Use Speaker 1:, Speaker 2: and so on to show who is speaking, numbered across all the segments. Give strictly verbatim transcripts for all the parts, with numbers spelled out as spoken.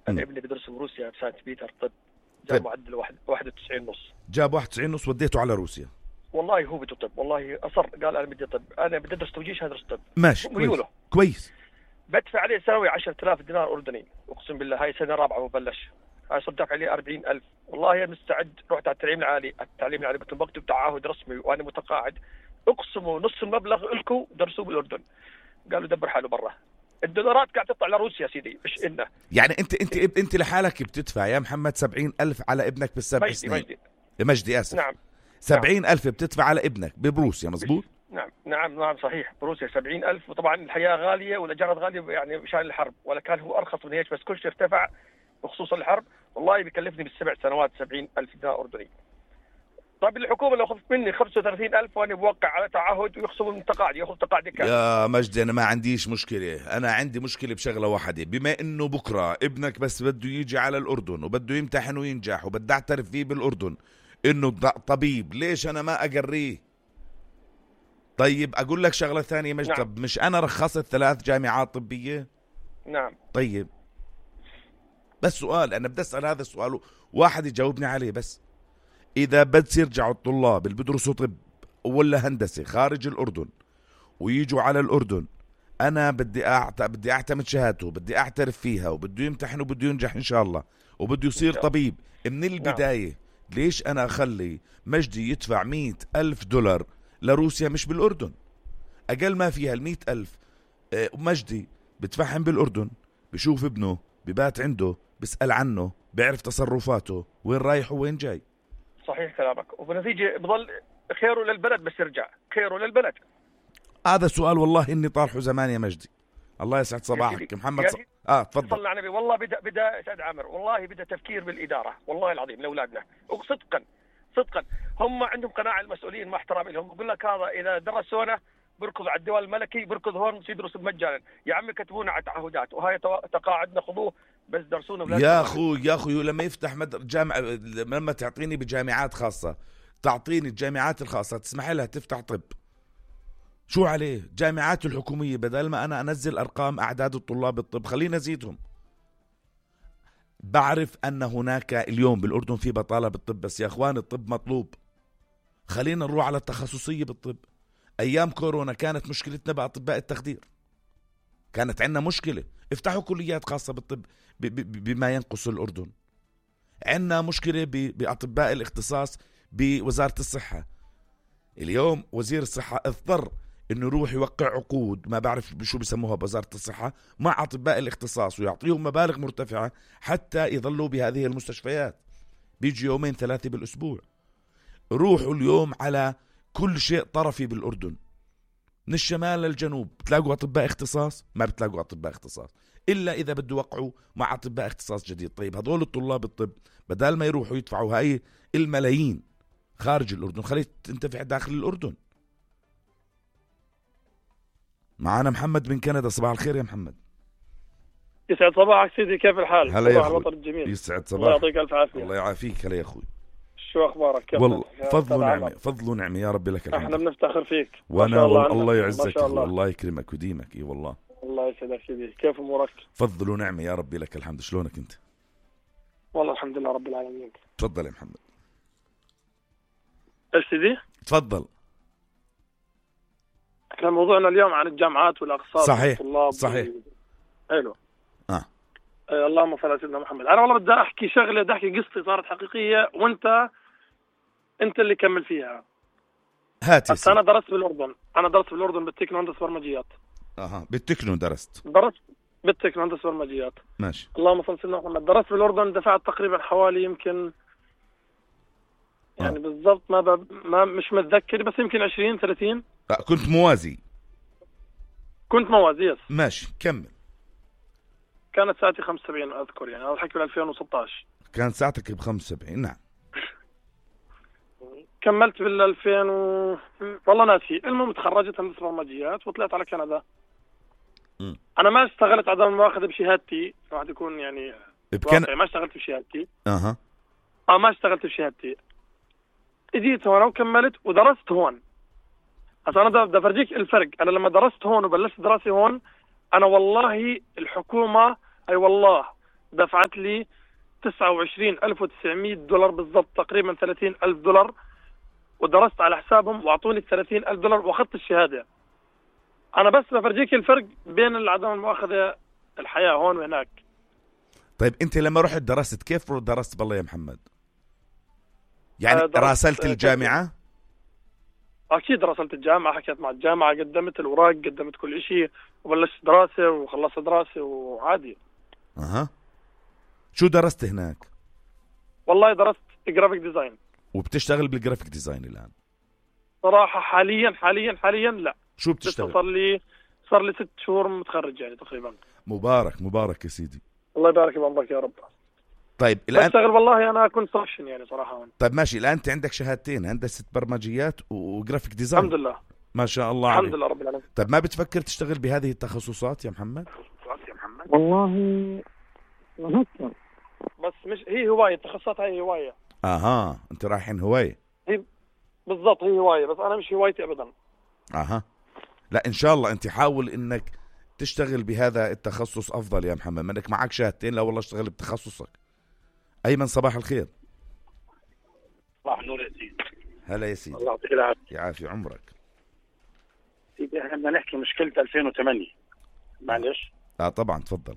Speaker 1: أنا ابني بدرس بروسيا بسانت بيتر طب، جاب
Speaker 2: طيب.
Speaker 1: معدل واحد واحد وتسعين ونص.
Speaker 2: جاب واحد وتسعين ونص وديته على روسيا.
Speaker 1: والله هو بده طب، والله أصر قال أنا بدي طب، أنا بدي أدرس توجيش هدرس طب.
Speaker 2: ماشي كويس كويس.
Speaker 1: بدفع عليه سنوي عشرة آلاف دينار أردني، أقسم بالله هاي سنة رابعة وبلش، هاي صرت دافع عليه أربعين ألف. والله أنا مستعد، رحت على التعليم العالي، التعليم العالي قلت بكتب تعهد رسمي وأنا متقاعد، اقسموا نص المبلغ لكم درسوه بالأردن. قالوا دبر حاله برا. الدولارات قاعد تطلع لروسيا سيدي، مش إلنا.
Speaker 2: يعني أنت أنت أنت لحالك بتدفع يا محمد سبعين ألف على ابنك بالسبع سنين.
Speaker 1: مجدي
Speaker 2: مجدي آسف.
Speaker 1: نعم.
Speaker 2: سبعين نعم. ألف بتدفع على ابنك بروسيا مزبوط؟
Speaker 1: نعم نعم نعم صحيح، بروسيا سبعين ألف. وطبعا الحياة غالية والإيجارات غالية يعني مشان الحرب، ولا كان هو أرخص من هيك، بس كل شيء ارتفع بخصوص الحرب. والله بيكلفني بالسبع سنوات سبعين ألف دينار أردني. طيب الحكومة لو خذت مني خمسة وثلاثين ألف وأنا بوقع على تعهد ويخصموا من تقاعدي، ياخذ تقاعدي كامل.
Speaker 2: يا مجدي أنا ما عنديش مشكلة، أنا عندي مشكلة بشغلة واحدة، بما إنه بكرة ابنك بس بده يجي على الأردن وبده يمتحن وينجح وبده أعترف فيه بالأردن إنه طبيب، ليش أنا ما أقريه؟ طيب أقول لك شغلة ثانية مجدي. نعم. طب مش أنا رخصت ثلاث جامعات طبية؟
Speaker 1: نعم.
Speaker 2: طيب بس سؤال، أنا بدي أسأل هذا السؤال واحد يجاوبني عليه بس. إذا بس يرجعوا الطلاب اللي بدرسوا طب ولا هندسة خارج الأردن ويجوا على الأردن، أنا بدي أعت... بدي أعتمد شهادته، بدي أعترف فيها، وبده يمتحن وبده ينجح إن شاء الله، وبده يصير طبيب من البداية. نعم. ليش أنا أخلي مجدي يدفع مئة ألف دولار لروسيا مش بالأردن؟ أقل ما فيها المئة ألف مجدي بتفحم بالأردن، بشوف ابنه، ببات عنده، بسأل عنه، بيعرف تصرفاته، وين رايح وين جاي.
Speaker 1: صحيح كلامك، وبنتيجة بضل خيره للبلد، بس يرجع خيره للبلد.
Speaker 2: هذا سؤال والله إني طارحه زمان يا مجدي. الله يسعد صباحك محمد. ص... اه تفضل.
Speaker 1: صلى على النبي. والله بدا بدا سعد عامر، والله بدا تفكير بالإدارة، والله العظيم لأولادنا، وصدقا صدقا هم عندهم قناعة المسؤولين مع احترامي لهم. بقول لك هذا إذا درسونا بركض على الدول الملكي، بركض هون يدرس مجانا. يا عمي كتبونا على تعهدات وهاي تقاعدنا خذوه، بس درسونا.
Speaker 2: يا اخوي يا اخوي لما يفتح مد... جامعة، لما تعطيني بجامعات خاصة، تعطيني الجامعات الخاصة تسمح لها تفتح طب، شو عليه؟ جامعات الحكومية بدل ما أنا أنزل أرقام أعداد الطلاب الطب خلينا نزيدهم. بعرف أن هناك اليوم بالأردن في بطالة بالطب، بس يا أخوان الطب مطلوب. خلينا نروح على التخصصية بالطب. أيام كورونا كانت مشكلتنا بأطباء التخدير، كانت عندنا مشكلة. افتحوا كليات خاصة بالطب ب- ب- بما ينقص الأردن. عندنا مشكلة ب- بأطباء الاختصاص بوزارة الصحة. اليوم وزير الصحة اضطر انه يروح يوقع عقود، ما بعرف شو بيسموها بوزارة الصحة، مع اطباء الاختصاص ويعطيهم مبالغ مرتفعة حتى يظلوا بهذه المستشفيات. بيجي يومين ثلاثة بالاسبوع. روحوا اليوم على كل شيء طرفي بالأردن، من الشمال للجنوب، بتلاقوا اطباء اختصاص؟ ما بتلاقوا اطباء اختصاص الا اذا بده يوقعوا مع اطباء اختصاص جديد. طيب هذول الطلاب الطب بدل ما يروحوا يدفعوا هاي الملايين خارج الأردن، خليت تنتفع داخل الأردن. معنا محمد من كندا. صباح الخير يا محمد.
Speaker 3: يسعد صباحك سيدي، كيف الحال؟
Speaker 2: هلا يا
Speaker 3: الوطن الجميل.
Speaker 2: يسعد صباحك.
Speaker 3: الله يعطيك الف عافيه.
Speaker 2: الله يعافيك. هلا يا اخوي،
Speaker 3: شو اخبارك؟ كيف
Speaker 2: والله فضل ونعمه، فضل ونعمه يا رب لك الحمد.
Speaker 3: احنا بنفتخر فيك.
Speaker 2: وانا الله, الله يعزك الله. الله يكرمك ويديمك. اي والله
Speaker 3: الله يسعدك سيدي. كيف امورك؟
Speaker 2: فضل ونعمه يا رب لك الحمد. شلونك انت؟
Speaker 3: والله الحمد لله رب العالمين.
Speaker 2: تفضل يا محمد.
Speaker 3: ايش سيدي؟
Speaker 2: تفضل.
Speaker 3: احنا موضوعنا اليوم عن الجامعات والاقساط.
Speaker 2: صحيح
Speaker 3: والطلاب.
Speaker 2: صحيح.
Speaker 3: حلو.
Speaker 2: اه
Speaker 3: آه اللهم صل على سيدنا محمد. انا والله بدي احكي شغله، بدي احكي قصتي صارت حقيقيه، وانت انت اللي كمل فيها.
Speaker 2: هاتي.
Speaker 3: انا درست بالاردن، انا درست بالاردن بالتكنو هندسه برمجيات.
Speaker 2: اها بالتكنو درست؟
Speaker 3: درست بالتكنو هندسه برمجيات.
Speaker 2: ماشي.
Speaker 3: اللهم صل على سيدنا محمد. درست بالاردن، دفعت تقريبا حوالي يمكن يعني آه. بالضبط ما ب... ما مش متذكر، بس يمكن عشرين ثلاثين.
Speaker 2: آه كنت موازي؟
Speaker 3: كنت موازي يس.
Speaker 2: ماشي كمل.
Speaker 3: كانت ساعتي خمسة وسبعين اذكر، يعني هذا الحكي بال ألفين وستة عشر.
Speaker 2: كانت ساعتك ب خمسة وسبعين. نعم.
Speaker 3: كملت بال ألفين و... والله ناسي. المهم تخرجت هندسه برمجيات وطلعت على كندا. م. انا ما اشتغلت عدم المؤاخذه بشهادتي، واحد يكون يعني
Speaker 2: بكن...
Speaker 3: ما اشتغلت بشهادتي.
Speaker 2: اها
Speaker 3: اه ما اشتغلت بشهادتي. اجيت هون وكملت ودرست هون. هسا انا بدي افرجيك الفرق. انا لما درست هون وبلشت دراسي هون، انا والله الحكومه اي والله دفعت لي تسعة وعشرين ألف وتسعمية دولار بالضبط، تقريبا ثلاثين ألف دولار، ودرست على حسابهم واعطوني ثلاثين ألف دولار واخذت الشهاده. انا بس بفرجيك الفرق بين عدم المؤاخذه الحياه هون وهناك.
Speaker 2: طيب انت لما رحت درست كيف درست بالله يا محمد؟ يعني
Speaker 3: آه، درست-
Speaker 2: راسلت
Speaker 3: آه،
Speaker 2: الجامعه؟
Speaker 3: اكيد راسلت الجامعه، حكيت مع الجامعه، قدمت الاوراق، قدمت كل شيء، وبلشت دراسه وخلصت دراسه وعادي.
Speaker 2: اها. شو درست هناك؟
Speaker 3: والله درست جرافيك ديزاين.
Speaker 2: وبتشتغل بالجرافيك ديزاين الان؟
Speaker 3: صراحه حاليا حاليا حاليا لا،
Speaker 2: شو
Speaker 3: لسه
Speaker 2: بتشتغل؟
Speaker 3: صار لي صار لي ست شهور متخرج يعني تقريبا.
Speaker 2: مبارك مبارك يا سيدي.
Speaker 3: الله يبارك بعمرك يا رب.
Speaker 2: طيب الان
Speaker 3: بشتغل والله انا كونستراكشن يعني صراحه هون.
Speaker 2: طيب ماشي، الان انت عندك شهادتين، هندسه برمجيات وجرافيك ديزاين.
Speaker 3: الحمد لله
Speaker 2: ما شاء الله
Speaker 3: الحمد
Speaker 2: عليك.
Speaker 3: لله رب العالمين.
Speaker 2: طيب ما بتفكر تشتغل بهذه التخصصات يا محمد؟
Speaker 3: والله بفكر، بس مش هي هوايه، التخصصات هاي هوايه.
Speaker 2: اها انت رايحين هوايه.
Speaker 3: بالضبط هي هوايه، بس انا مش هوايتي ابدا.
Speaker 2: اها. لا ان شاء الله انت حاول انك تشتغل بهذا التخصص افضل يا محمد، ما انك معك شهادتين. لا والله اشتغل بتخصصك. ايمن صباح الخير.
Speaker 3: صباح النور يا سيدي.
Speaker 2: هلا يا سيدي.
Speaker 3: الله يعطيك العافيه.
Speaker 2: يعافي عمرك.
Speaker 3: سيدي احنا بدنا نحكي مشكله ألفين وثمانية. معلش.
Speaker 2: اه طبعا تفضل.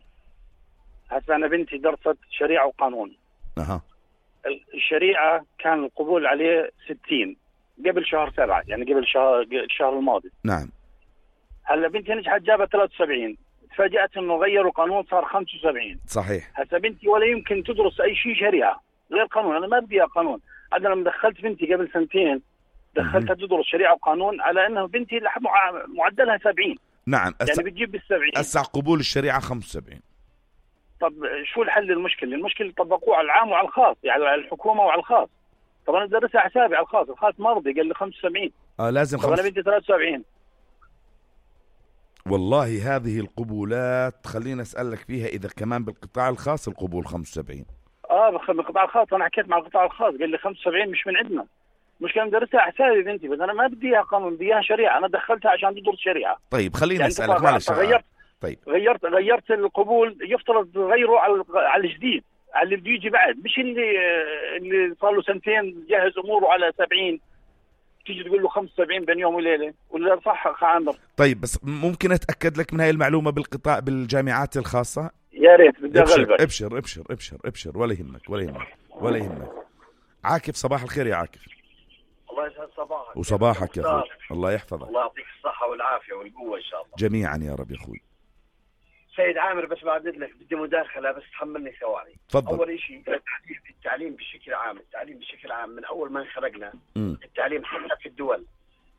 Speaker 3: هسه انا بنتي درست شريعه وقانون.
Speaker 2: اها.
Speaker 3: الشريعه كان القبول عليه ستين قبل شهر سبعة، يعني قبل شهر الشهر الماضي.
Speaker 2: نعم.
Speaker 3: هلا بنتي نجحت جابت ثلاثة وسبعين، تفاجأت انه غيروا قانون صار خمسة وسبعين.
Speaker 2: صحيح.
Speaker 3: هسه بنتي ولا يمكن تدرس اي شيء شريعه غير قانون، انا ما بدي اياها قانون. انا لما دخلت بنتي قبل سنتين دخلتها تدرس شريعه وقانون على انه بنتي معدلها سبعين.
Speaker 2: نعم. أس...
Speaker 3: يعني بتجيب بالسبعين.
Speaker 2: اسع قبول الشريعه خمسة وسبعين.
Speaker 3: طب شو الحل المشكله؟ المشكله طبقوه على العام وعلى الخاص، يعني على الحكومه وعلى الخاص. طب انا بدرسها حسابي على الخاص، الخاص مرضي قال لي خمسة وسبعين.
Speaker 2: اه لازم
Speaker 3: طب
Speaker 2: خمس...
Speaker 3: انا بدي ثلاثة وسبعين.
Speaker 2: والله هذه القبولات خلينا اسالك فيها اذا كمان بالقطاع الخاص القبول خمسة وسبعين.
Speaker 3: اه بالقطاع الخاص، انا حكيت مع القطاع الخاص قال لي خمسة وسبعين مش من عندنا. مش كان مدرسها حسابي بنتي، بس انا ما بدي اياها قانون، بدي اياها شريعه، انا دخلتها عشان تدرس شريعه.
Speaker 2: طيب خليني
Speaker 3: يعني
Speaker 2: اسالك معلش.
Speaker 3: غيرت
Speaker 2: طيب
Speaker 3: غيرت غيرت القبول، يفترض تغيره على على الجديد، على اللي بده يجي بعد، مش اللي اللي صار له سنتين جهز اموره على سبعين تيجي تقول له خمسة وسبعين بين يوم وليله. ولا صح عامر؟
Speaker 2: طيب بس ممكن اتاكد لك من هاي المعلومه بالقطاع بالجامعات الخاصه؟
Speaker 3: يا ريت بدي
Speaker 2: ابشر
Speaker 3: اغلبك.
Speaker 2: ابشر ابشر ابشر ابشر ولا يهمك ولا يهمك ولا يهمك. عاكف صباح الخير يا عاكف.
Speaker 4: الله يسعد صباحك.
Speaker 2: وصباحك يا اخوي. الله يحفظك.
Speaker 4: الله يعطيك الصحة والعافية والقوة إن شاء الله
Speaker 2: جميعا يا رب يا اخوي.
Speaker 4: سيد عامر، بس بعدد لك بدي مداخلة، بس تحملني ثواني.
Speaker 2: تفضل.
Speaker 4: أول شيء التحديث في التعليم بشكل عام، التعليم بشكل عام من أول ما انخلقنا
Speaker 2: م.
Speaker 4: التعليم حتى في الدول،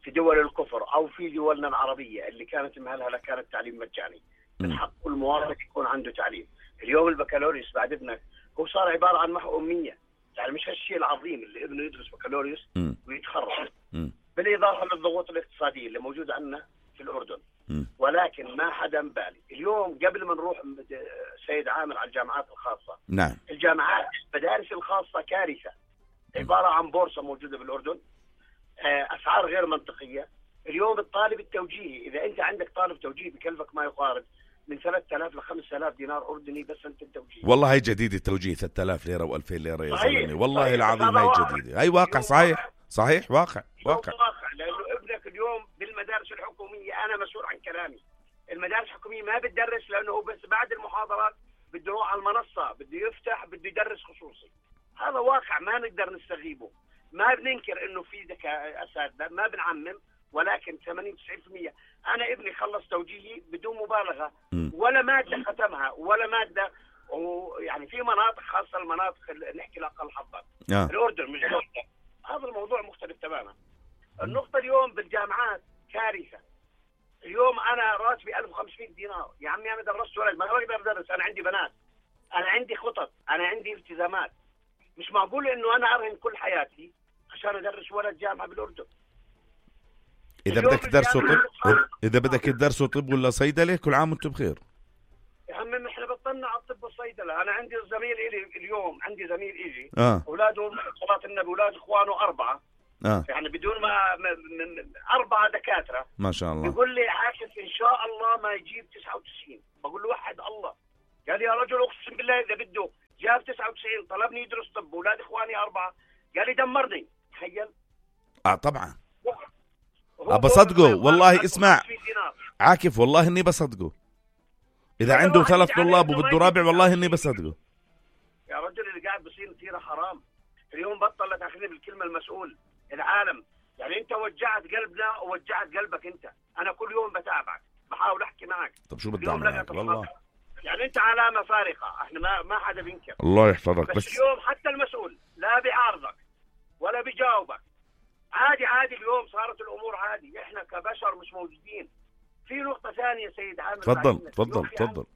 Speaker 4: في دول الكفر أو في دولنا العربية اللي كانت مهلهلة كان التعليم مجاني. من حق كل مواطن يكون عنده تعليم. اليوم البكالوريوس بعد ابنك هو صار عبارة عن محو أمية، يعني مش هالشيء العظيم اللي ابنه يدرس بكالوريوس
Speaker 2: م.
Speaker 4: ويتخرج.
Speaker 2: م.
Speaker 4: بالإضافة للضغوط الاقتصادية اللي موجودة عندنا في الأردن.
Speaker 2: م.
Speaker 4: ولكن ما حدا مبالي. اليوم قبل ما نروح سيد عامر على الجامعات الخاصة،
Speaker 2: نعم.
Speaker 4: الجامعات المدارس الخاصة كارثة، عبارة عن بورصة موجودة بالأردن، أسعار غير منطقية. اليوم الطالب التوجيهي، إذا أنت عندك طالب توجيهي بكلفك ما يقارب من ثلاثة آلاف ل خمسة آلاف دينار أردني بس أنت التوجيه.
Speaker 2: والله هي جديدة التوجيه ثلاثة آلاف ليرة وألفين ليرة يا
Speaker 4: صحيح.
Speaker 2: زلمة، والله
Speaker 4: صحيح.
Speaker 2: العظيم هي جديدة، هي واقع. صحيح صحيح واقع واقع.
Speaker 4: واقع، لأنه ابنك اليوم بالمدارس الحكومية، أنا مسؤول عن كلامي، المدارس الحكومية ما بتدرس لأنه بس بعد المحاضرات بده يروح على المنصة، بده يفتح، بده يدرس خصوصي. هذا واقع ما نقدر نستغيبه. ما بننكر إنه في ذكاء أساتذة، ما بنعمم، ولكن ثمانين تسعين بالمئة. أنا ابني خلص توجيهي بدون مبالغة،
Speaker 2: م.
Speaker 4: ولا مادة ختمها ولا مادة. ويعني في مناطق، خاصة المناطق اللي نحكي لأقل حظا،
Speaker 2: آه.
Speaker 4: الأردن مش الأردن، هذا الموضوع مختلف تماما. النقطة اليوم بالجامعات كارثة. اليوم أنا راتبي ألف وخمسمئة دينار، يا عمي أنا درست ولد ما بقدر أدرس، أنا عندي بنات، أنا عندي خطط، أنا عندي التزامات. مش معقول إنه أنا أرهن كل حياتي عشان أدرس ولد جامعة بالأردن.
Speaker 2: إذا بدك تدرسوا طب، إذا بدك تدرسوا طب ولا صيدلة، كل عام وأنتم بخير.
Speaker 4: يا عمي احنا بطلنا على الطب والصيدله. انا عندي زميل إلي اليوم، عندي زميل إلي
Speaker 2: آه.
Speaker 4: اولاده صلاه النبي، اولاد اخوانه اربعه،
Speaker 2: آه.
Speaker 4: يعني بدون ما من اربعه دكاتره،
Speaker 2: ما شاء الله.
Speaker 4: بيقول لي عاكف ان شاء الله ما يجيب تسعة وتسعين. بقول له وحد الله، قال لي يا رجل اقسم بالله اذا بده جاب تسعة وتسعين طلبني يدرس طب واولاد اخواني اربعه قال لي دمرني. تخيل.
Speaker 2: اه طبعا بصدقه والله. اسمع عاكف والله اني بصدقه اذا عنده ثلاث طلاب وبده رابع والله اني بصدقه.
Speaker 4: يا رجل اللي قاعد بصير نتيره حرام. اليوم بطل تاخذني بالكلمه المسؤول العالم. يعني انت وجعت قلبنا ووجعت قلبك انت. انا كل يوم بتابعك بحاول احكي معك.
Speaker 2: طب شو بدي اعمل معك والله؟
Speaker 4: يعني انت علامه فارقه احنا ما ما حدا بينكر.
Speaker 2: الله يحفظك.
Speaker 4: بس,
Speaker 2: بس
Speaker 4: اليوم حتى المسؤول لا بيعارضك ولا بيجاوبك. عادي عادي اليوم صارت الامور عادي. احنا كبشر مش موجودين. في نقطه ثانيه سيد عامر.
Speaker 2: تفضل تفضل تفضل.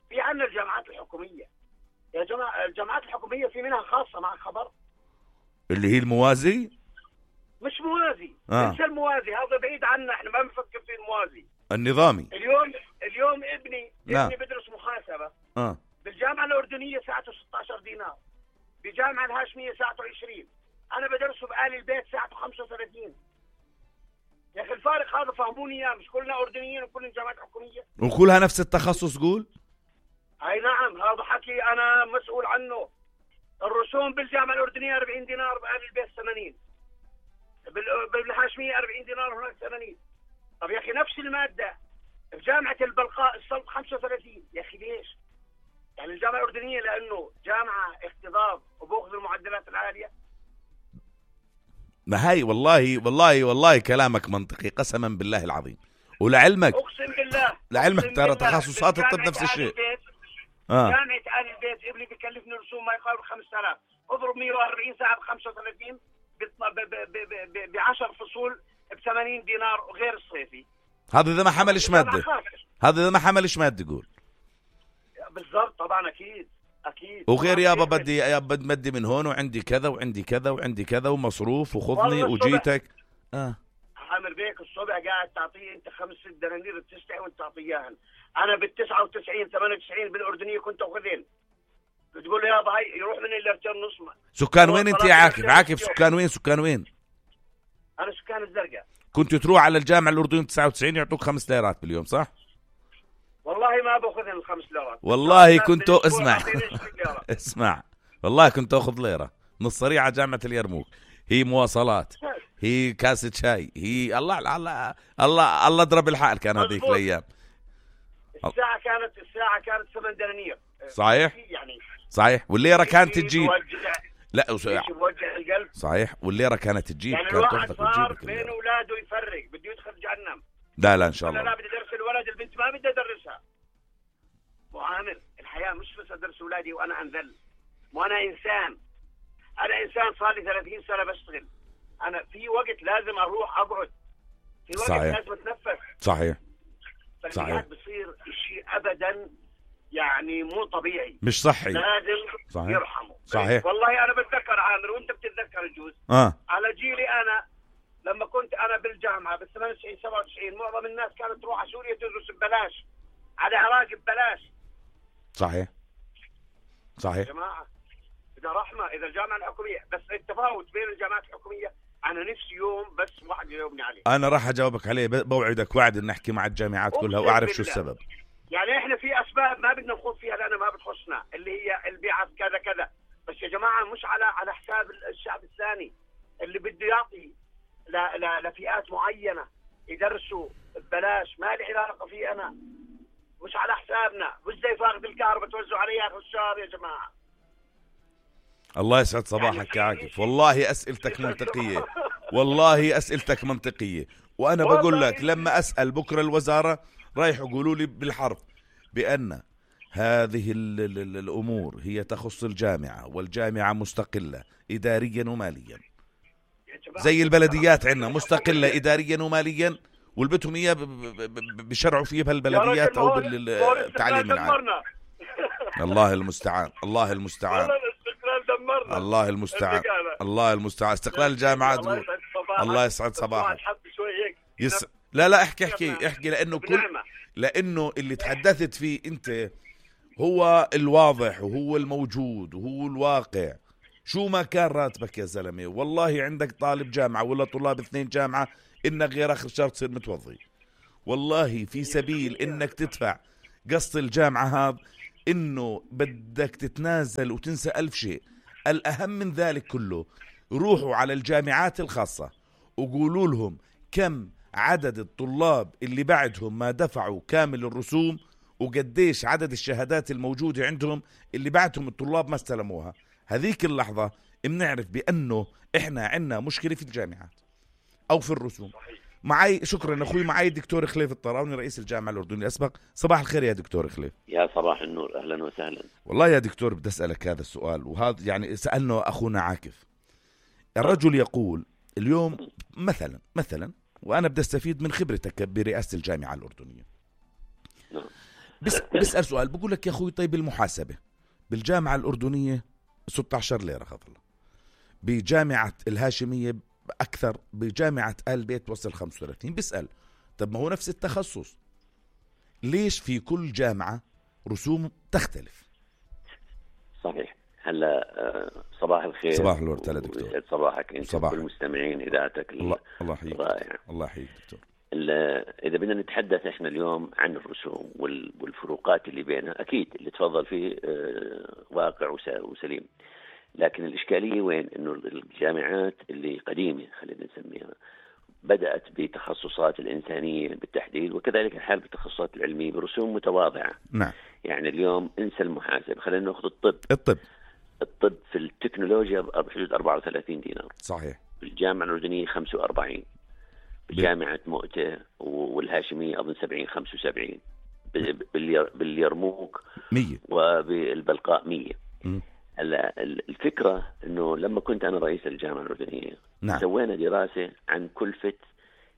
Speaker 4: في عندنا الجامعات الحكوميه يا جماعه. الجامعات الحكوميه في منها خاصه مع خبر
Speaker 2: اللي هي الموازي.
Speaker 4: مش موازي.
Speaker 2: آه.
Speaker 4: انسى الموازي هذا بعيد عنا. احنا ما بنفكر في الموازي
Speaker 2: النظامي.
Speaker 4: اليوم اليوم ابني
Speaker 2: لا.
Speaker 4: ابني بدرس محاسبه
Speaker 2: اه
Speaker 4: بالجامعه الاردنيه ساعته ستة عشر دينار. بالجامعه الهاشميه ساعته عشرين. انا بدرسه بآل البيت ساعته خمسة وثلاثين. يا اخي الفارق هذا فهموني اياه. مش كلنا اردنيين وكلنا جامعات حكوميه
Speaker 2: وكلها نفس التخصص. قول.
Speaker 4: اي نعم هذا حكي انا مسؤول عنه. الرسوم بالجامعه الاردنيه أربعين دينار بآل البيت ثمانين. بالهاشميه أربعين دينار هناك ثمانين. طب يا اخي نفس الماده بجامعه البلقاء الصلب خمسة وثلاثين. يا اخي ليش؟ يعني الجامعه الاردنيه لانه جامعه اختضاب وباخذ المعدلات العاليه.
Speaker 2: ما هاي والله والله والله كلامك منطقي قسما بالله العظيم. ولعلمك
Speaker 4: اقسم بالله
Speaker 2: لعلمك ترى تخصصات الطب نفس الشيء.
Speaker 4: آه. جامعه آل البيت ابني بكلفني رسوم ما يقارب خمسة آلاف. اضرب مئة وأربعين ساعه ب خمسة وثلاثين ب عشر فصول ب ثمانين دينار وغير الصيفي.
Speaker 2: هذا اذا ما حملش ماده. هذا اذا ما حملش ماده. قول.
Speaker 4: بالضبط طبعا اكيد اكيد.
Speaker 2: وغير يابا بدي يابا بدي مدي من هون وعندي كذا وعندي كذا وعندي كذا ومصروف وخذني وجيتك. اه
Speaker 4: عامر بيك الصبح قاعد تعطيه انت خمس ست دنانير بتستحي وانت تعطيهن. انا بالتسعة وتسعين ثمانية وتسعين بالاردنيه كنت اخذين. بتقول له يابا هاي يروح من اللي نص.
Speaker 2: سكان وين انت يا عاكف؟ عاكف سكان وين؟ سكان وين؟
Speaker 4: انا سكان الزرقاء.
Speaker 2: كنت تروح على الجامعه الاردنيه تسعة وتسعين يعطوك خمس ليرات باليوم صح؟
Speaker 4: والله ما باخذ الخمس ليرات.
Speaker 2: والله كنت اسمع اسمع والله كنت اخذ ليره نص صريعه جامعه اليرموك. هي مواصلات هي كاسه شاي هي الله الله الله الله اضرب الحال. كان هذيك الايام
Speaker 4: الساعه كانت الساعه كانت ثمان دنانير
Speaker 2: صحيح
Speaker 4: يعني
Speaker 2: صحيح. والليره كانت تجيب لا
Speaker 4: وجع القلب
Speaker 2: صحيح. والليره كانت تجيب
Speaker 4: يعني الواحد صار بين اولاده يفرق بده يدخل جهنم.
Speaker 2: لا لا ان شاء الله.
Speaker 4: لا بدي ادرس الولد البنت ما بدي ادرسها. وعامر الحياه مش بس ادرس اولادي وانا انذل. وانا انسان. انا انسان صار لي ثلاثين سنه بشتغل. انا في وقت لازم اروح اقعد. في وقت
Speaker 2: صحيح.
Speaker 4: لازم اتنفس.
Speaker 2: صحيح
Speaker 4: صحيح. بصير شيء ابدا يعني مو طبيعي.
Speaker 2: مش صحي.
Speaker 4: لازم
Speaker 2: صحيح.
Speaker 4: يرحمه.
Speaker 2: صحيح.
Speaker 4: والله انا بتذكر عامر وانت بتتذكر الجوز.
Speaker 2: اه
Speaker 4: على جيلي انا لما كنت انا بالجامعه بال ثمانية وتسعين سبعة وتسعين معظم الناس كانت تروح على سوريا تدرس ببلاش. على العراق ببلاش.
Speaker 2: صحيح صحيح
Speaker 4: يا جماعه اذا رحمه اذا الجامعه الحكوميه بس التفاوت بين الجامعات الحكوميه انا نفسي يوم بس واحد يجاوبني عليه.
Speaker 2: انا راح اجاوبك عليه. بوعدك وعد ان نحكي مع الجامعات كلها واعرف شو السبب.
Speaker 4: يعني احنا في اسباب ما بدنا نخوض فيها لانها ما بتخصنا اللي هي البيعه كذا كذا. بس يا جماعه مش على على حساب الشعب الثاني اللي بده يعطي ل... ل... لفئات معينه يدرسوا ببلاش. ما لي علاقه فيه انا. مش على حسابنا. مش زي فاقد الكهرباء توزعوا عليه اخر الشهر يا جماعه.
Speaker 2: الله يسعد صباحك يا عاكف. والله اسئلتك منطقيه. والله اسئلتك منطقيه. وانا بقول لك لما اسال بكره الوزاره رايح يقولوا لي بالحرف بان هذه ال ال ال الامور هي تخص الجامعه والجامعه مستقله اداريا وماليا زي البلديات عندنا مستقله اداريا وماليا والبتهم اياه بشرعوا فيه بهالبلديات او بالتعليم العام. الله المستعان. الله المستعان. الله المستعان. الله المستعان. استقلال الجامعات. الله يسعد صباحك. يس... لا لا احكي احكي احكي لانه كل لانه اللي تحدثت فيه انت هو الواضح وهو الموجود وهو الواقع. شو ما كان راتبك يا زلمه والله عندك طالب جامعه ولا طلاب اثنين جامعه انك غير اخر شهر تصير متوظف. والله في سبيل انك تدفع قسط الجامعه هذا إنه بدك تتنازل وتنسى ألف شيء. الأهم من ذلك كله، روحوا على الجامعات الخاصة وقولوا لهم كم عدد الطلاب اللي بعدهم ما دفعوا كامل الرسوم، وقديش عدد الشهادات الموجودة عندهم اللي بعدهم الطلاب ما استلموها. هذيك اللحظة بنعرف بأنه إحنا عنا مشكلة في الجامعات أو في الرسوم. معي شكرا أخوي، معي الدكتور خليف الطراوني رئيس الجامعة الأردنية الأسبق. صباح الخير يا دكتور خليف.
Speaker 5: يا صباح النور، أهلا وسهلا.
Speaker 2: والله يا دكتور بدي أسألك هذا السؤال، وهذا يعني سألنا أخونا عاكف. الرجل يقول اليوم مثلا مثلا وأنا بدي أستفيد من خبرتك برئاسة الجامعة الأردنية، بس بسأل سؤال، بقول لك يا أخوي طيب المحاسبة بالجامعة الأردنية ستة عشر ليرة خطلة، بجامعة الهاشمية أكثر، بجامعة آل بيت وصل خمسة وثلاثين. بسأل طب ما هو نفس التخصص، ليش في كل جامعة رسوم تختلف؟
Speaker 5: صحيح. هلا صباح الخير.
Speaker 2: صباح الورد يا دكتور.
Speaker 5: ويسعد صباحك انت
Speaker 2: صباح
Speaker 5: والمستمعين اذاعتك.
Speaker 2: الله الله يحييك.
Speaker 5: رائع.
Speaker 2: الله يحييك دكتور.
Speaker 5: اذا بدنا نتحدث احنا اليوم عن الرسوم والفروقات اللي بينها، اكيد اللي تفضل فيه واقع وسليم، لكن الاشكاليه وين؟ انه الجامعات اللي قديمه خلينا نسميها بدأت بتخصصات الإنسانية بالتحديد، وكذلك الحال بالتخصصات العلمية برسوم متواضعة.
Speaker 2: نعم.
Speaker 5: يعني اليوم انسى المحاسبة، خلينا نأخذ الطب.
Speaker 2: الطب
Speaker 5: الطب في التكنولوجيا بحدود أربعة وثلاثين دينار.
Speaker 2: صحيح.
Speaker 5: بالجامعة الأردنية خمسة وأربعين، بجامعة مؤتة والهاشمية أظن سبعين خمسة وسبعين، باليرموك
Speaker 2: مية،
Speaker 5: وبالبلقاء مية.
Speaker 2: م.
Speaker 5: الفكرة أنه لما كنت أنا رئيس الجامعة الأردنية،
Speaker 2: نعم.
Speaker 5: سوينا دراسة عن كلفة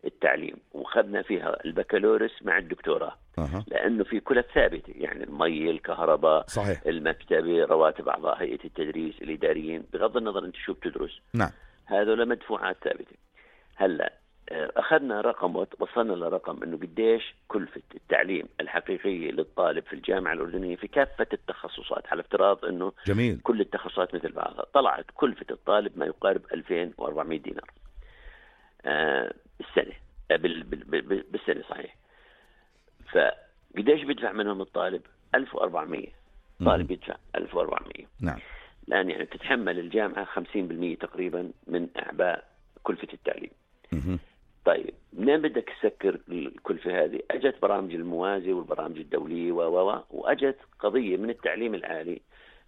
Speaker 5: التعليم وخذنا فيها البكالوريوس مع الدكتوراه.
Speaker 2: أه.
Speaker 5: لأنه في كلف ثابتة، يعني المي، الكهرباء،
Speaker 2: صحيح.
Speaker 5: المكتبة، رواتب أعضاء هيئة التدريس، الإداريين، بغض النظر أنت شو بتدرس.
Speaker 2: نعم.
Speaker 5: هذول مدفوعات ثابتة. هلأ أخذنا رقم وصلنا لرقم أنه قديش كلفة التعليم الحقيقية للطالب في الجامعة الأردنية في كافة التخصصات، على افتراض أنه
Speaker 2: جميل.
Speaker 5: كل التخصصات مثل بعضها. طلعت كلفة الطالب ما يقارب ألفين وأربعمائة دينار آه بالسنة، آه بال بال بالسنة صحيح. فقديش بيدفع منهم الطالب؟ ألف وأربعمائة. طالب يدفع ألف وأربعمائة.
Speaker 2: نعم.
Speaker 5: لأن يعني تتحمل الجامعة خمسين بالمئة تقريبا من أعباء كلفة التعليم.
Speaker 2: م-
Speaker 5: طيب منين بدك تسكر الكلفة هذه؟ أجت برامج الموازي والبرامج الدولية و و وأجت قضية من التعليم العالي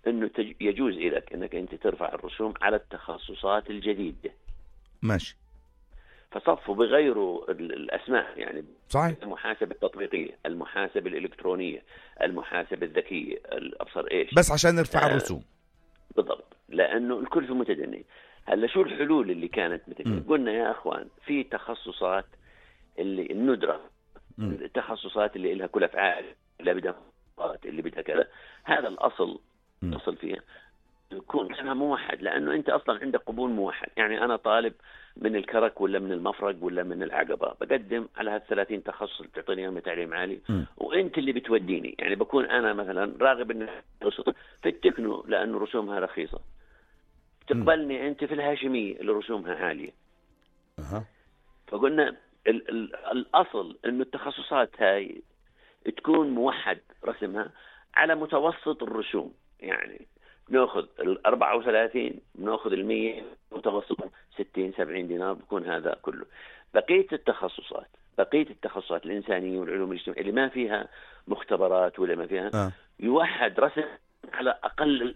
Speaker 5: إنه تج... يجوز لك إنك أنت ترفع الرسوم على التخصصات الجديدة.
Speaker 2: ماشي.
Speaker 5: فصفوا بغيروا الأسماء، يعني
Speaker 2: صحيح.
Speaker 5: المحاسبة التطبيقية، المحاسبة الإلكترونية، المحاسبة الذكية، الأبصر إيش،
Speaker 2: بس عشان نرفع
Speaker 5: آه
Speaker 2: الرسوم.
Speaker 5: بالضبط، لأنه الكلفة متدنية. هلا شو الحلول اللي كانت مثل قلنا يا أخوان؟ في تخصصات اللي الندرة، م. التخصصات اللي لها كلف عالي، اللي بدها اللي بدها كذا، هذا الأصل الأصل فيها يكون اسمها موحد، لأنه أنت أصلا عندك قبول موحد. يعني أنا طالب من الكرك ولا من المفرق ولا من العقبة، بقدم على هالثلاثين تخصص اللي بتعطيني اياهم تعليم عالي، م. وأنت اللي بتوديني. يعني بكون أنا مثلا راغب إن في التكنو لأنه رسومها رخيصة، تقبلني أنت في الهاشمية اللي رسومها عالية.
Speaker 2: أه.
Speaker 5: فقلنا ال ال الأصل إنه التخصصات هاي تكون موحد رسمها على متوسط الرسوم. يعني بنأخذ الأربعة وثلاثين، بنأخذ المية، متوسط ستين سبعين دينار، بكون هذا كله. بقية التخصصات بقية التخصصات الإنسانية والعلوم الاجتماعية اللي ما فيها مختبرات ولا ما فيها
Speaker 2: أه. يوحد
Speaker 5: رسم على أقل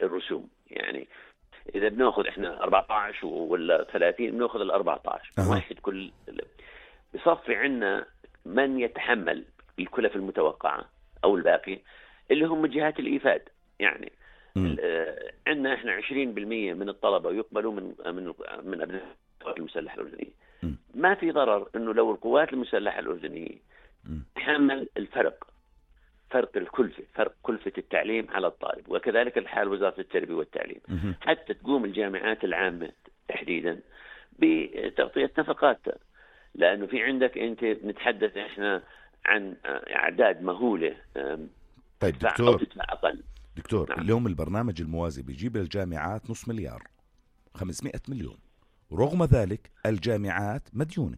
Speaker 5: الرسوم. يعني إذا بنأخذ إحنا أربعة عشر ولا ثلاثين، بنأخذ الأربعة عشر أه. واحد كل. بصفي عنا من يتحمل الكلف المتوقعة أو الباقي اللي هم جهات الإيفاد. يعني عندنا إحنا عشرين بالمئة من الطلبة يقبلوا من من من أبناء القوات المسلحة الأردنية. م. ما في ضرر إنه لو القوات المسلحة الأردنية تحمل الفرق، فرق الكلفة، فرق كلفة التعليم على الطالب، وكذلك الحال وزارة التربية والتعليم، حتى تقوم الجامعات العامة تحديدا بتغطية نفقاتها. لأنه في عندك أنت نتحدث إحنا عن أعداد مهولة.
Speaker 2: طيب دكتور
Speaker 5: أقل.
Speaker 2: دكتور نعم. اليوم البرنامج الموازي بيجيب للجامعات نص مليار، خمسمائة مليون، ورغم ذلك الجامعات مديونة،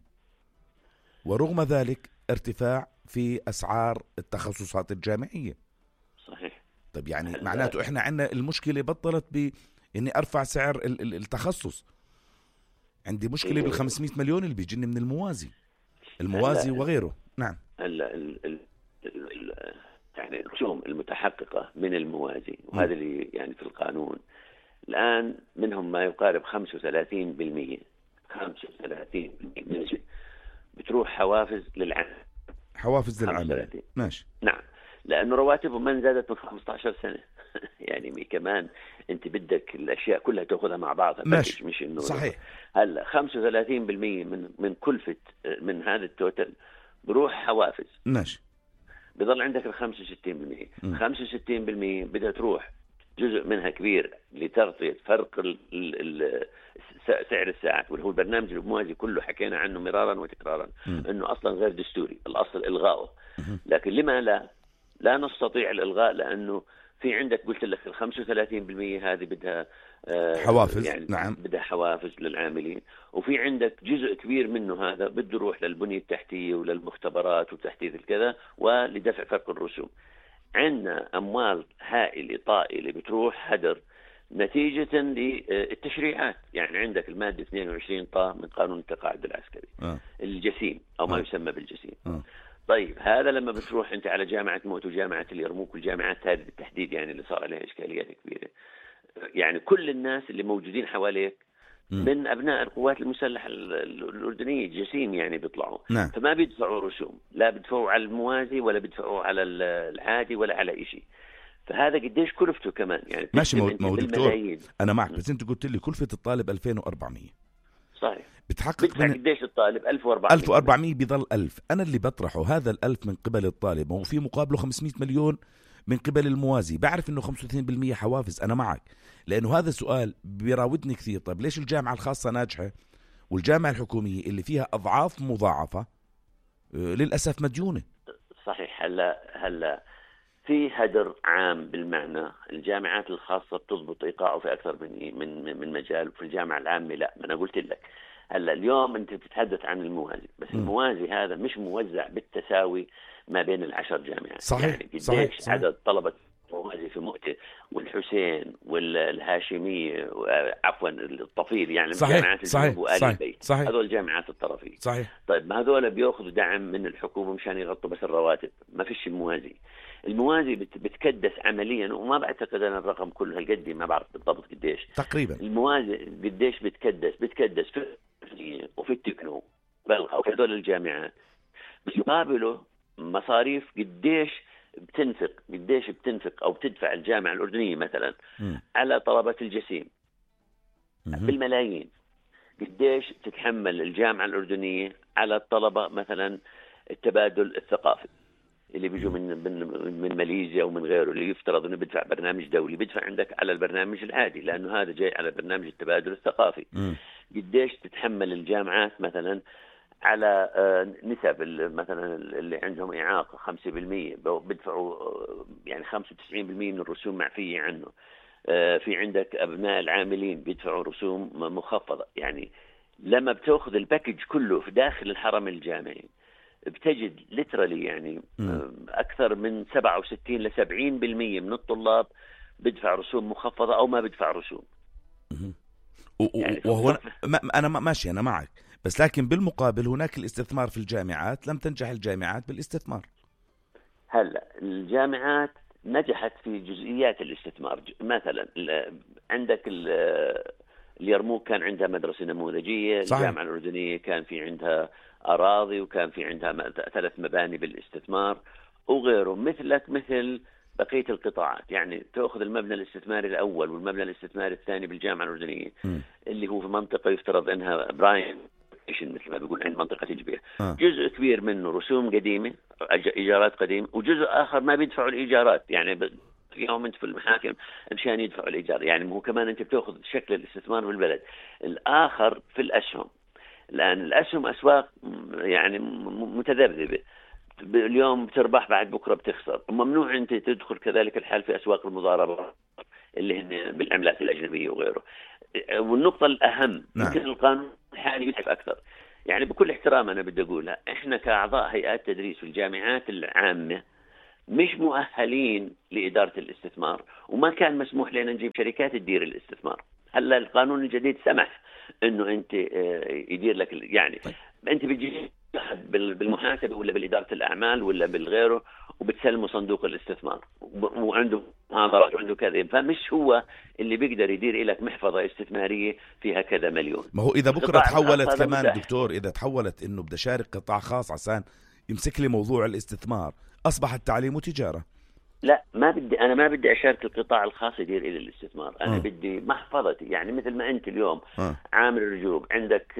Speaker 2: ورغم ذلك ارتفاع في أسعار التخصصات الجامعية.
Speaker 5: صحيح.
Speaker 2: طيب يعني معناته إحنا عنا المشكلة بطلت بإني أرفع سعر التخصص، عندي مشكلة بالخمسمائة مليون اللي بيجيني من الموازي الموازي وغيره. نعم.
Speaker 5: هلا يعني الرسوم المتحققة من الموازي وهذا اللي يعني في القانون الآن منهم ما يقارب خمسة وثلاثين بالمئة خمسة وثلاثين بالمئة بتروح حوافز للعمل.
Speaker 2: حوافز للعمل ماشي.
Speaker 5: نعم، لأنه رواتبهم ما زادت من خمسة عشر سنة يعني كمان أنت بدك الأشياء كلها تأخذها مع بعضها
Speaker 2: ماشي.
Speaker 5: مش إنه
Speaker 2: صحيح.
Speaker 5: هلا خمسة وثلاثين بالمئة من من كلفة من هذا التوتل بروح حوافز
Speaker 2: ماشي،
Speaker 5: بضل عندك ال خمسة وستين بالمئة. خمسة وستين بالمئة بدها تروح جزء منها كبير لتغطية فرق ال ال سعر الساعات، واللي هو البرنامج الموازي كله حكينا عنه مرارا وتكرارا م. انه اصلا غير دستوري، الاصل الغائه. لكن لما لا لا نستطيع الالغاء؟ لانه في عندك قلت لك ال خمسة وثلاثين بالمئة هذه بدها
Speaker 2: حوافز.
Speaker 5: يعني
Speaker 2: نعم،
Speaker 5: بدها حوافز للعاملين، وفي عندك جزء كبير منه هذا بده يروح للبنية التحتية وللمختبرات وتحديث الكذا ولدفع فرق الرسوم. عندنا أموال هائلة طائلة بتروح هدر نتيجة للتشريعات. يعني عندك المادة اثنين وعشرين طا من قانون التقاعد العسكري
Speaker 2: آه.
Speaker 5: الجسيم أو ما آه. يسمى بالجسيم.
Speaker 2: آه.
Speaker 5: طيب هذا لما بتروح أنت على جامعة موت وجامعة اليرموك والجامعات هذه بالتحديد يعني اللي صار عليها إشكاليات كبيرة، يعني كل الناس اللي موجودين حواليك من أبناء القوات المسلحة الأردنية الجسيم يعني بيطلعوا.
Speaker 2: نعم.
Speaker 5: فما بيدفعوا رسوم، لا بيدفعوا على الموازي ولا بيدفعوا على العادي ولا على إشي. فهذا قديش كلفته كمان يعني
Speaker 2: ماشي مو دكتور أنا معك، بس أنت قلت لي كلفة الطالب ألفين وأربعمية.
Speaker 5: صحيح.
Speaker 2: بتحقق
Speaker 5: من قديش الطالب؟ ألف وأربعمية.
Speaker 2: ألف وأربعمية بيضل ألف. أنا اللي بطرحه هذا الألف من قبل الطالب وفي مقابله خمسمائة مليون من قبل الموازي. بعرف إنه خمسة وثلاثين بالمئة حوافز، أنا معك، لأنه هذا سؤال بيراودني كثير. طيب ليش الجامعة الخاصة ناجحة والجامعة الحكومية اللي فيها أضعاف مضاعفة للأسف مديونة؟
Speaker 5: صحيح. هلا هلا في هدر عام بالمعنى الجامعات الخاصة بتضبط إيقاعه في أكثر من من من مجال، وفي الجامعة العامة لا. ما أنا قلت لك هلا اليوم أنت بتتحدث عن الموازي، بس م. الموازي هذا مش موزع بالتساوي ما بين العشر جامعات.
Speaker 2: صحيح.
Speaker 5: يعني قديش
Speaker 2: صحيح. صحيح.
Speaker 5: عدد طلبة موازي في مؤتة والحسين والهاشمية عفوا الطفيل يعني
Speaker 2: جامعات الجنوب وآل البيت،
Speaker 5: هذول الجامعات الطرفية.
Speaker 2: صحيح.
Speaker 5: طيب ما هذول بيأخذوا دعم من الحكومة مشان يغطوا بس الرواتب، ما فيش الموازي. الموازي بتكدس عمليا، وما بعتقد أنا الرقم كله هالقد، ما بعرف بالضبط قديش
Speaker 2: تقريبا
Speaker 5: الموازي قديش بتكدس بتكدس في وفي التكنو بلغة وفي هذول الجامعات، بس يقابله مصاريف قديش بتنفق قديش بتنفق أو بتدفع الجامعة الأردنية مثلا م. على طلبة الجسيم م. بالملايين. قديش تتحمل الجامعة الأردنية على الطلبة مثلا التبادل الثقافي اللي بيجوا من من من ماليزيا ومن غيره، اللي يفترض انه بدفع برنامج دولي، بدفع عندك على البرنامج العادي لانه هذا جاي على برنامج التبادل الثقافي. م. قديش تتحمل الجامعات مثلا على نسب مثلا اللي عندهم إعاقة خمسة بالمئة بدفعوا يعني خمسة وتسعين بالمئة من الرسوم معفية عنه. في عندك أبناء العاملين بيدفعوا رسوم مخفضة. يعني لما بتأخذ الباكج كله في داخل الحرم الجامعي بتجد لترالي يعني م. أكثر من سبعة وستين لسبعين بالمئة من الطلاب بدفع رسوم مخفضة أو ما بدفع رسوم.
Speaker 2: يعني وهو ما أنا ماشي أنا معك، بس لكن بالمقابل هناك الاستثمار في الجامعات. لم تنجح الجامعات بالاستثمار.
Speaker 5: هلا الجامعات نجحت في جزئيات الاستثمار. مثلا عندك اليرموك كان عندها مدرسة نموذجية. صحيح. الجامعة الأردنية كان في عندها أراضي وكان في عندها ثلاث مباني بالاستثمار وغيره. مثلك مثل بقية القطاعات، يعني تأخذ المبنى الاستثماري الأول والمبنى الاستثماري الثاني بالجامعة الأردنية م. اللي هو في منطقة يفترض أنها براين مثل ما بيقول عند منطقة تجبير. آه. جزء كبير منه رسوم قديمة إيجارات قديمة، وجزء آخر ما بيدفعوا الإيجارات. يعني يوم أنت في المحاكم مشان يدفعوا الإيجار. يعني هو كمان أنت بتأخذ شكل الاستثمار بالبلد. الآخر في الأسهم. الآن الأسهم أسواق يعني متذبذبة، اليوم بتربح بعد بكرة بتخسر. ممنوع أنت تدخل كذلك الحال في أسواق المضاربة اللي هن بالعملات الأجنبية وغيره. والنقطة الأهم يمكن القانون الحالي يتعب أكثر. يعني بكل احترام أنا بدي أقولها، إحنا كأعضاء هيئات تدريس في الجامعات العامة مش مؤهلين لإدارة الاستثمار، وما كان مسموح لنا نجيب شركات تدير الاستثمار. هلا القانون الجديد سمح انه انت يدير لك، يعني انت بتجي بالمحاسبه ولا بالاداره الاعمال ولا بالغيره وبتسلمه صندوق الاستثمار وعنده محاضرات وعنده كذا، فمش هو اللي بيقدر يدير لك محفظه استثماريه فيها كذا مليون.
Speaker 2: ما هو اذا بكره تحولت كمان متاح. دكتور اذا تحولت انه بدي اشارك قطاع خاص عشان يمسك لي موضوع الاستثمار، اصبح التعليم وتجاره.
Speaker 5: لا ما بدي، انا ما بدي اشارك القطاع الخاص يدير الى الاستثمار، انا
Speaker 2: أه.
Speaker 5: بدي محفظتي، يعني مثل ما انت اليوم
Speaker 2: أه.
Speaker 5: عامل رجوع عندك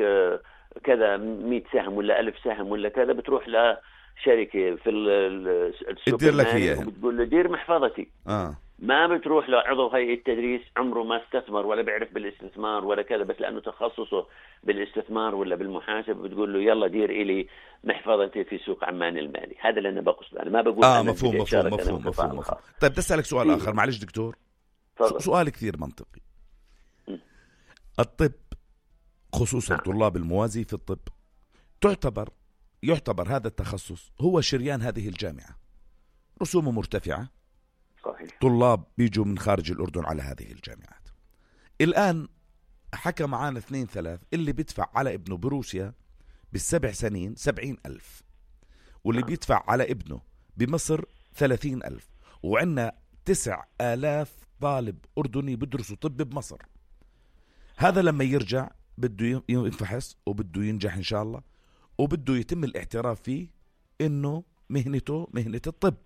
Speaker 5: كذا مئة سهم ولا ألف سهم ولا كذا، بتروح لشركه في السوق
Speaker 2: تدير لك اياها
Speaker 5: وبتقول له دير محفظتي.
Speaker 2: أه.
Speaker 5: ما بتروح لعضو هيئة التدريس عمره ما استثمر ولا بيعرف بالاستثمار ولا كذا، بس لأنه تخصصه بالاستثمار ولا بالمحاسبة بتقول له يلا دير إلي محفظتي في سوق عمان المالي. هذا اللي أنا بقصد، أنا ما بقول
Speaker 2: آه مفهوم مفهوم مفهوم مفهوم, مفهوم. طيب بدي أسألك سؤال آخر معلش دكتور.
Speaker 5: فضل.
Speaker 2: سؤال كثير منطقي. م. الطب خصوصا نعم. طلاب الموازي في الطب تعتبر يعتبر هذا التخصص هو شريان هذه الجامعة، رسومه مرتفعة،
Speaker 5: صحيح.
Speaker 2: طلاب بيجوا من خارج الأردن على هذه الجامعات. الآن حكى معانا اثنين ثلاث اللي بيدفع على ابنه بروسيا بالسبع سنين سبعين ألف، واللي بيدفع على ابنه بمصر ثلاثين ألف، وعنا تسع آلاف طالب أردني بدرسوا طب بمصر. هذا لما يرجع بده ينفحص وبده ينجح إن شاء الله، وبده يتم الاعتراف فيه إنه مهنته مهنة الطب،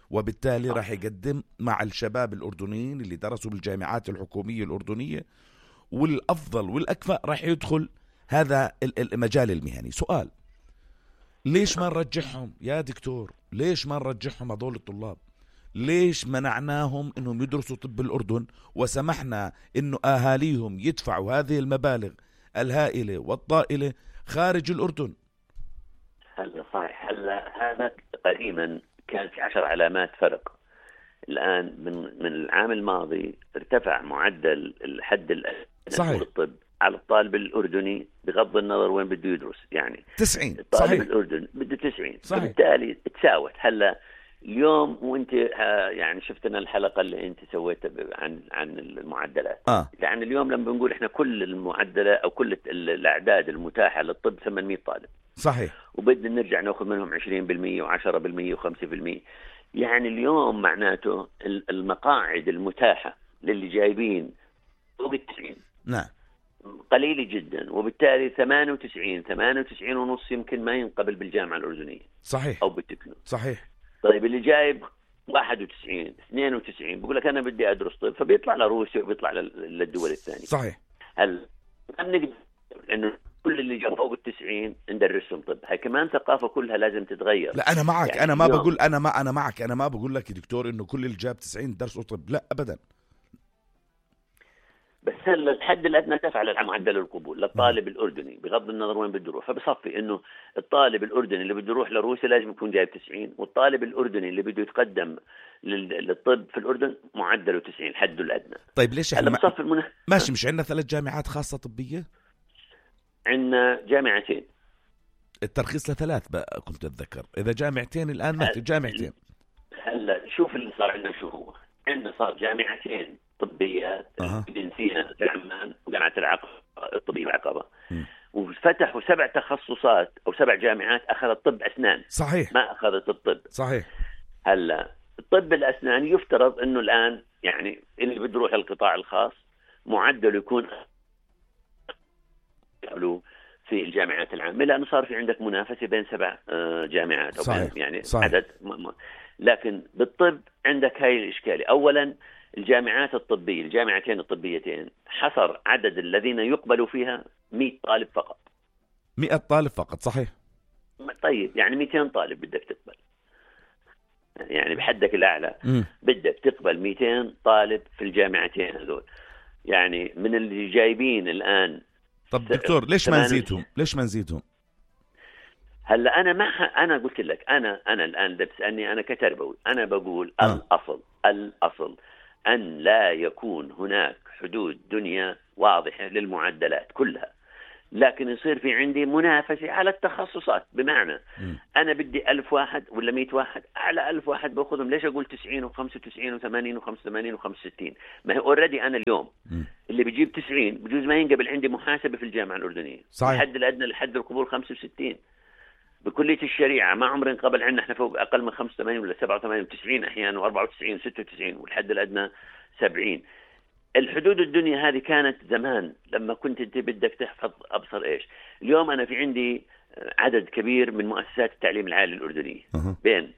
Speaker 2: وبالتالي راح يقدم مع الشباب الأردنيين اللي درسوا بالجامعات الحكومية الأردنية، والأفضل والأكفأ راح يدخل هذا المجال المهني. سؤال، ليش ما نرجعهم يا دكتور؟ ليش ما نرجعهم هذول الطلاب؟ ليش منعناهم انهم يدرسوا طب الأردن وسمحنا انه اهاليهم يدفعوا هذه المبالغ الهائلة والطائلة خارج الأردن؟
Speaker 5: هلا صحيح. هلا هذا قديما كان في عشر علامات فرق. الآن من من العام الماضي ارتفع معدل الحد الأدنى للطب على الطالب الأردني بغض النظر وين بده يدرس، يعني
Speaker 2: تسعين
Speaker 5: الطالب
Speaker 2: صحيح.
Speaker 5: الأردن بده تسعين،
Speaker 2: صحيح.
Speaker 5: بالتالي تساوت. هلا اليوم وانت يعني شفتنا الحلقة اللي انت سويتها عن عن المعدلات،
Speaker 2: آه.
Speaker 5: يعني اليوم لما بنقول احنا كل المعدلات او كل الاعداد المتاحة للطب ثمانمئة طالب،
Speaker 2: صحيح،
Speaker 5: وبدنا نرجع ناخذ منهم عشرين بالمئة وعشرة بالمئة وخمسة بالمئة. يعني اليوم معناته المقاعد المتاحة للي جايبين فوق التسعين
Speaker 2: نعم
Speaker 5: قليلة جدا، وبالتالي ثمانية وتسعين ثمانية وتسعين ونص يمكن ما ينقبل بالجامعة الأردنية
Speaker 2: صحيح
Speaker 5: أو بالتكنو.
Speaker 2: صحيح.
Speaker 5: طيب اللي جايب واحد وتسعين اثنين وتسعين بقول لك أنا بدي أدرس طب، فبيطلع لروسيا وبيطلع للدول الثانية.
Speaker 2: صحيح.
Speaker 5: هل ما بنقدر إنه كل اللي جاب فوق التسعين ندرسهم طب؟ هاي كمان ثقافة كلها لازم تتغير.
Speaker 2: لا أنا معك،
Speaker 5: يعني
Speaker 2: أنا ما بقول أنا ما أنا معك أنا ما بقول لك يا دكتور إنه كل اللي جاب تسعين درسوا طب، لا أبدا.
Speaker 5: بس هلا الحد الادنى تفعل على معدل القبول للطالب الأردني بغض النظر وين بده يروح، فبصفي انه الطالب الأردني اللي بده يروح لروسيا لازم يكون جايب تسعين، والطالب الأردني اللي بده يتقدم للطب في الأردن معدله تسعين حده الادنى.
Speaker 2: طيب ليش احنا
Speaker 5: بصفي المنه...
Speaker 2: ماشي مش عندنا ثلاث جامعات خاصة طبية؟
Speaker 5: عندنا جامعتين،
Speaker 2: الترخيص لثلاث بقى كنت اتذكر، اذا جامعتين الان ما في جامعتين.
Speaker 5: هلا شوف اللي صار عندنا شو هو، عندنا صار جامعتين طبية
Speaker 2: أه.
Speaker 5: جنسية في عمان وجامعة العقبة الطبية العقبة، وفتحوا سبع تخصصات أو سبع جامعات أخذت طب أسنان.
Speaker 2: صحيح.
Speaker 5: ما أخذت الطب.
Speaker 2: صحيح.
Speaker 5: هلا الطب الأسنان يفترض إنه الآن يعني اللي بده يروح القطاع الخاص معدل يكون في الجامعات العامة، لأنه صار في عندك منافسة بين سبع جامعات أو
Speaker 2: صحيح.
Speaker 5: يعني
Speaker 2: صحيح.
Speaker 5: عدد م- م- لكن بالطب عندك هاي الإشكالية. أولا الجامعات الطبية الجامعتين الطبيتين حصر عدد الذين يقبلوا فيها مئة طالب فقط.
Speaker 2: مئة طالب فقط. صحيح.
Speaker 5: طيب يعني مئتين طالب بدك تقبل، يعني بحدك الأعلى
Speaker 2: م.
Speaker 5: بدك تقبل مئتين طالب في الجامعتين هذول، يعني من اللي جايبين الآن.
Speaker 2: طب دكتور ليش ما نزيدهم؟ ليش ما نزيدهم؟
Speaker 5: هلا أنا ما أنا قلت لك أنا أنا الآن بتسألني أنا كتربوي، أنا بقول
Speaker 2: آه.
Speaker 5: الأصل الأصل أن لا يكون هناك حدود دنيا واضحة للمعدلات كلها. لكن يصير في عندي منافسة على التخصصات. بمعنى
Speaker 2: م.
Speaker 5: أنا بدي ألف واحد ولا مئة واحد، أعلى ألف واحد بأخذهم. ليش أقول تسعين وخمسة وتسعين وثمانين وخمسة وثمانين وخمسة وستين؟ ما هي أوريدي أنا اليوم
Speaker 2: م.
Speaker 5: اللي بيجيب تسعين بجوز ما ينقبل عندي محاسبة في الجامعة الأردنية.
Speaker 2: صحيح.
Speaker 5: الحد الأدنى لحد القبول خمسة وستين. بكلية الشريعة ما عمرنا قبل عندنا احنا فوق أقل من خمسة وثمانين ولا سبعة وثمانين وتسعين أحيانا وأربعة وتسعين وستة وتسعين، والحد الأدنى سبعين. الحدود الدنيا هذه كانت زمان لما كنت انت بدك تحفظ ابصر ايش. اليوم انا في عندي عدد كبير من مؤسسات التعليم العالي الاردنيه،
Speaker 2: أه.
Speaker 5: بين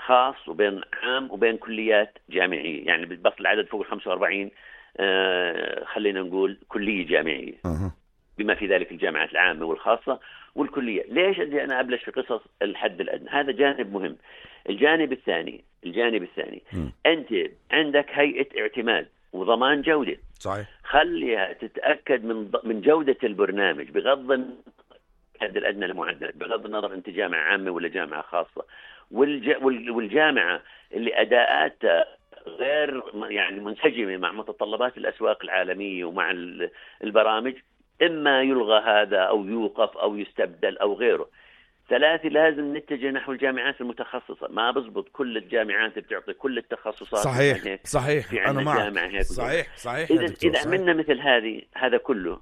Speaker 5: خاص وبين عام وبين كليات جامعيه، يعني بس العدد فوق خمسة وأربعين آه خلينا نقول كليه جامعيه،
Speaker 2: أه.
Speaker 5: بما في ذلك الجامعات العامه والخاصه والكليه. ليش بدي انا ابلش في قصص الحد الادنى؟ هذا جانب مهم. الجانب الثاني الجانب الثاني
Speaker 2: م.
Speaker 5: انت عندك هيئه اعتماد وضمان جودة.
Speaker 2: صحيح.
Speaker 5: خليها تتأكد من من جودة البرنامج بغض النظر الحد الأدنى للمعدل، بغض النظر أنت جامعة عامة ولا جامعة خاصة. والج... والجامعة اللي أداءاتها غير يعني منسجمة مع متطلبات الأسواق العالمية ومع البرامج، إما يلغى هذا أو يوقف أو يستبدل أو غيره. ثلاثة، لازم نتجه نحو الجامعات المتخصصة. ما بزبط كل الجامعات بتعطي كل التخصصات.
Speaker 2: صحيح صحيح أنا معك. صحيح صحيح.
Speaker 5: إذا إذا عملنا مثل هذه هذا كله،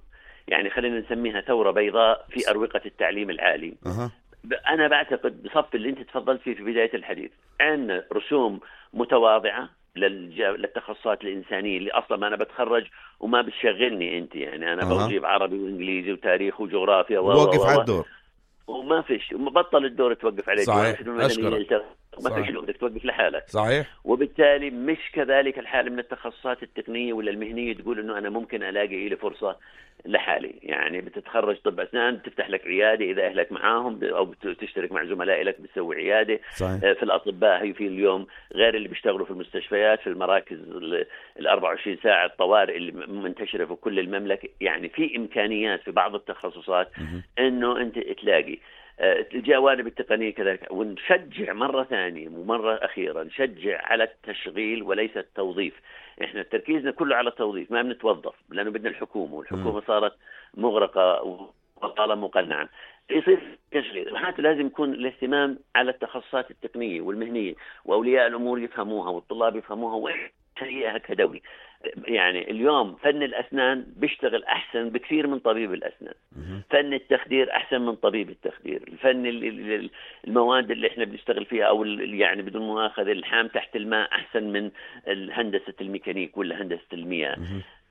Speaker 5: يعني خلينا نسميها ثورة بيضاء في أروقة التعليم العالي.
Speaker 2: أه.
Speaker 5: أنا بعتقد بصف اللي أنت تفضلت فيه في بداية الحديث، عندنا رسوم متواضعة للتخصصات الإنسانية اللي أصلا ما أنا بتخرج وما بتشغلني أنت، يعني أنا
Speaker 2: أه.
Speaker 5: بجيب عربي وإنجليزي وتاريخ وجغرافيا
Speaker 2: ووقف على الدور
Speaker 5: وما فيش، بطل الدور توقف عليه.
Speaker 2: صحيح. أشكرك.
Speaker 5: ما فيش بدك توقف لحالك.
Speaker 2: صحيح.
Speaker 5: وبالتالي مش كذلك الحال من التخصصات التقنية ولا المهنية تقول إنه أنا ممكن ألاقي لي فرصة لحالي. يعني بتتخرج طب أسنان تفتح لك عيادة إذا أهلك معاهم، أو تشترك مع زملاء لك بتسوي عيادة.
Speaker 2: صحيح.
Speaker 5: في الأطباء هي في اليوم غير اللي بيشتغلوا في المستشفيات، في المراكز ال أربعة وعشرين ساعة الطوارئ اللي منتشرة في كل المملكة. يعني في إمكانيات في بعض التخصصات إنه أنت تلاقي الجوانب التقنية كذلك. ونشجع مرة ثانية ومرة أخيرة نشجع على التشغيل وليس التوظيف. إحنا تركيزنا كله على التوظيف، ما بنتوظف لأنه بدنا الحكومة، والحكومة صارت مغرقة وطالما مقنعة. يصير تشغيل، معناته لازم يكون الاهتمام على التخصصات التقنية والمهنية، وأولياء الأمور يفهموها والطلاب يفهموها وإحنا كدولي. يعني اليوم فن الأسنان بيشتغل أحسن بكثير من طبيب الأسنان. فن التخدير أحسن من طبيب التخدير. الفن المواد اللي إحنا بنشتغل فيها أو يعني بدون مؤاخذة الحام تحت الماء أحسن من هندسة الميكانيك ولا هندسة المياه.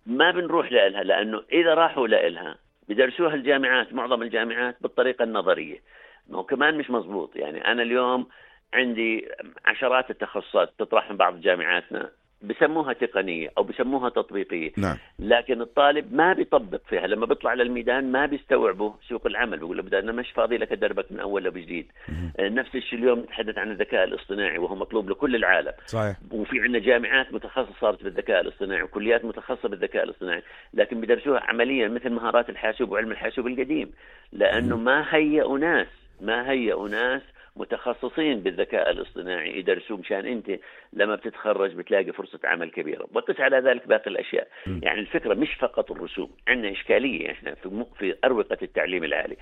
Speaker 5: ما بنروح لها، لأنه إذا راحوا لها بدرسوها الجامعات، معظم الجامعات بالطريقة النظرية، ما هو كمان مش مزبوط. يعني أنا اليوم عندي عشرات التخصصات تطرح من بعض جامعاتنا بسموها تقنية أو بسموها تطبيقية.
Speaker 2: نعم.
Speaker 5: لكن الطالب ما بيطبق فيها. لما بيطلع للميدان ما بيستوعبه سوق العمل، بيقول له بدأ أنا مش فاضي لك أدربك من أول وجديد. نفس الشيء اليوم نتحدث عن الذكاء الاصطناعي وهو مطلوب لكل العالم.
Speaker 2: صحيح.
Speaker 5: وفي عندنا جامعات متخصصة صارت بالذكاء الاصطناعي وكليات متخصصة بالذكاء الاصطناعي، لكن بدرسوها عمليا مثل مهارات الحاسوب وعلم الحاسوب القديم، لأنه ما هيئوا ناس ما هيئوا ناس متخصصين بالذكاء الاصطناعي يدرسوا، مشان انت لما بتتخرج بتلاقي فرصة عمل كبيرة. وقس على ذلك باقي الاشياء. م. يعني الفكرة مش فقط الرسوم، عندنا اشكالية احنا في في اروقة التعليم العالي.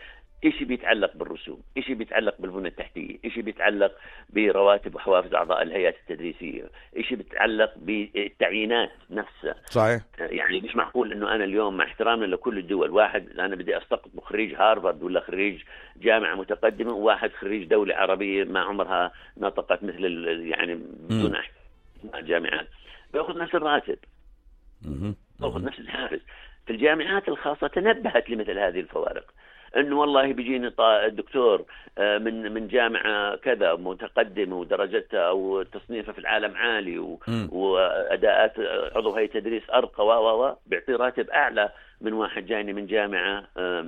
Speaker 5: إشي بيتعلق بالرسوم، إشي بيتعلق بالبنى التحتية، إشي بيتعلق برواتب وحوافز أعضاء الهيئات التدريسية، إشي بيتعلق بالتعيينات نفسها.
Speaker 2: صحيح.
Speaker 5: يعني مش معقول إنه أنا اليوم مع احترامنا لكل الدول، واحد أنا بدي أستقطب خريج هارفارد ولا خريج جامعة متقدمة، وواحد خريج دولة عربية ما عمرها نطقت مثل يعني بدون جامعات، بيأخذ نفس الراتب، بيأخذ نفس الحافز. في الجامعات الخاصة تنبهت لمثل هذه الفوارق، انه والله بيجيني الدكتور من من جامعه كذا متقدمه ودرجتها او تصنيفها في العالم عالي و... واداءات عضو هيئه تدريس ارقى و و بيعطي راتب اعلى من واحد جايني من جامعه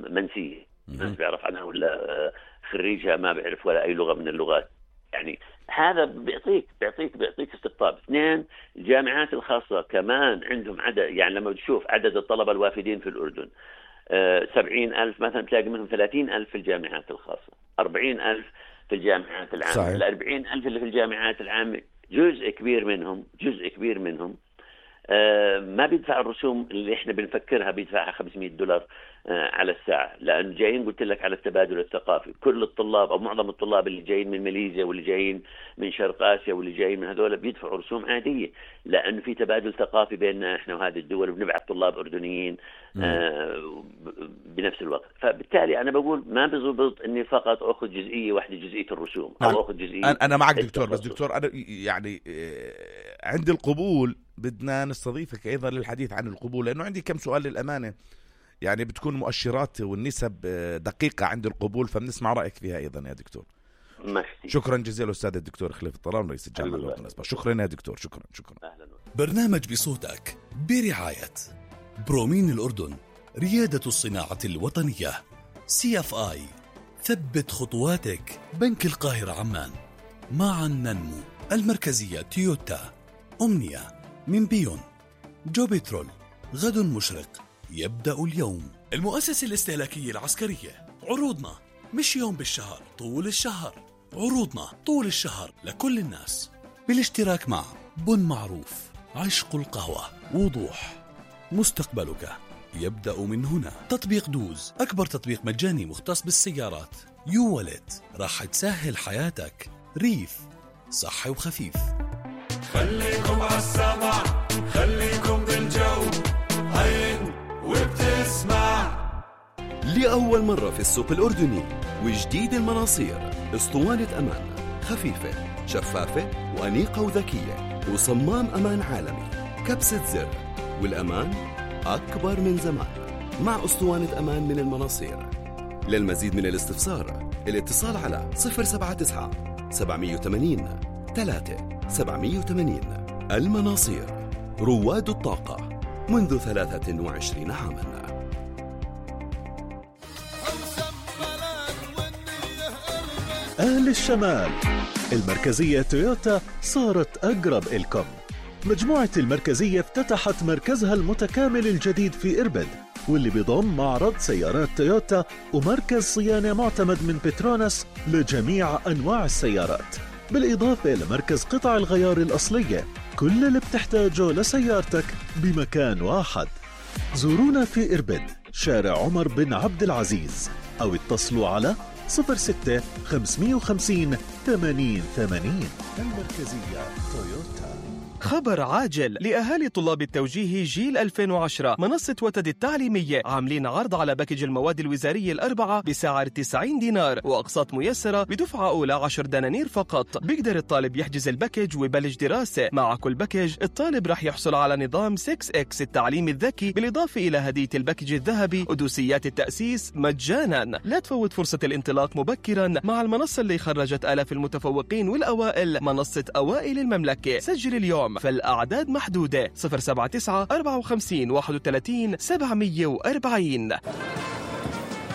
Speaker 5: منسيه ما بيعرف عنها ولا خريجها ما بيعرف ولا اي لغه من اللغات. يعني هذا بيعطيك بيعطيك بيعطيك استقطاب. اثنين، الجامعات الخاصه كمان عندهم عدد، يعني لما تشوف عدد الطلبه الوافدين في الاردن سبعين ألف مثلا، تلاقي منهم ثلاثين ألف في الجامعات الخاصة، أربعين ألف في الجامعات العامة. الأربعين ألف اللي في الجامعات العامة جزء كبير منهم جزء كبير منهم ما بيدفع الرسوم اللي احنا بنفكرها، بيدفعها خمسمائة دولار على الساعة، لأن جايين قلت لك على التبادل الثقافي. كل الطلاب أو معظم الطلاب اللي جايين من ماليزيا واللي جايين من شرق آسيا واللي جايين من هذول بيدفعوا رسوم عادية، لأنه في تبادل ثقافي بيننا احنا وهذه الدول، وبنبعث طلاب أردنيين آه بنفس الوقت. فبالتالي أنا بقول ما بزبط إني فقط أخذ جزئية واحدة، جزئية الرسوم، أو أخذ جزئية.
Speaker 2: أنا معك دكتور، بس دكتور أنا يعني عند القبول بدنا نستضيفك أيضا للحديث عن القبول، لأنه عندي كم سؤال للأمانة، يعني بتكون مؤشرات والنسب دقيقة عند القبول، فبنسمع رأيك فيها أيضا يا دكتور.
Speaker 5: ماشي.
Speaker 2: شكرا جزيلا أستاذ الدكتور خليفة الطلال رئيس الجامعة الأردنية الأسبق. شكرا يا دكتور. شكرا شكرا.
Speaker 5: أهلا.
Speaker 6: برنامج بصوتك برعاية برومين الأردن، ريادة الصناعة الوطنية، سي اف آي، ثبت خطواتك، بنك القاهرة عمان، معا ننمو، المركزية تويوتا، أمنية من بيون، جو بترول، غد مشرق يبدأ اليوم، المؤسسة الاستهلاكية العسكرية. عروضنا مش يوم بالشهر، طول الشهر. عروضنا طول الشهر لكل الناس، بالاشتراك مع بن معروف، عشق القهوة، وضوح، مستقبلك يبدأ من هنا. تطبيق دوز، أكبر تطبيق مجاني مختص بالسيارات. يو والت، راح تسهل حياتك. ريف، صحي وخفيف.
Speaker 7: خليكم عالسمع، خليكم بالجو، هين وبتسمع.
Speaker 8: لأول مرة في السوق الأردني وجديد المناصير، اسطوانة أمان خفيفة شفافة وأنيقة وذكية، وصمام أمان عالمي، كبسة زر، والأمان أكبر من زمان، مع اسطوانة أمان من المناصير. للمزيد من الاستفسار الاتصال على صفر سبعة تسعة سبعمية وثمانين ثلاثة سبعمية وثمانين. المناصير، رواد الطاقة منذ ثلاثة وعشرين عاماً.
Speaker 9: أهل الشمال، المركزية تويوتا صارت أقرب إلكم. مجموعة المركزية افتتحت مركزها المتكامل الجديد في إربد، واللي بيضم معرض سيارات تويوتا ومركز صيانة معتمد من بتروناس لجميع أنواع السيارات، بالإضافة لمركز قطع الغيار الأصلية. كل اللي بتحتاجه لسيارتك بمكان واحد. زورونا في إربد، شارع عمر بن عبد العزيز، أو اتصلوا على صفر ستة خمسمية وخمسين ثمانين ثمانين. المركزية تويوتا.
Speaker 10: خبر عاجل لأهالي طلاب التوجيه جيل ألفين وعشرة. منصة وتد التعليمية عاملين عرض على باكج المواد الوزارية الأربعة بسعر تسعين دينار، وأقساط ميسرة بدفعة أولى عشر دنانير فقط. بيقدر الطالب يحجز الباكج ويبلش دراسة. مع كل باكج الطالب رح يحصل على نظام ستة إكس التعليم الذكي، بالإضافة إلى هدية الباكج الذهبي ودوسيات التأسيس مجانا. لا تفوت فرصة الانطلاق مبكرا مع المنصة اللي خرجت آلاف المتفوقين والأوائل، منصة أوائل المملكة. سجل اليوم، فالأعداد محدودة. صفر سبعة تسعة أربعة وخمسين واحد وثلاثين سبعمية وأربعين.